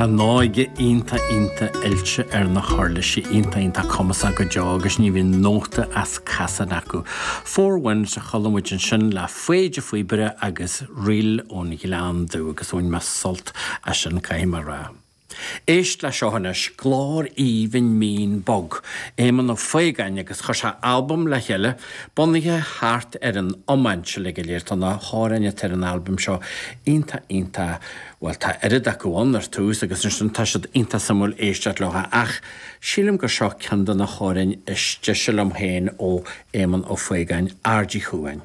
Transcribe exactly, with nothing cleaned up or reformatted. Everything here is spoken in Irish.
Tá an óige iontach iontach oilte ar na huirlisí iontach iontach cumasach go deo agus ní bhíonn nóta as casadh acu. Four Winds a chuala muid ansin le Faoide Faoibre agus Ríl ón Ghleann Dubh agus bhain mé sult as sin caithfidh mé a rá. Éist le seo anois glór aoibhinn mín bog, Éamonn Ó Faogáin agus chuir sé albam le chéile bunaithe thart ar an iomáint le go léir tá na hamhráin atá ar an albam seo iontach iontach well tá oiread acu ann ar tús agus ansin tá siad iontach suimiúil éisteacht leo ach sílim gur seo ceann de na hamhráin is deise liom féin ó Éamonn Ó Faogáin Aird Uí Chuain.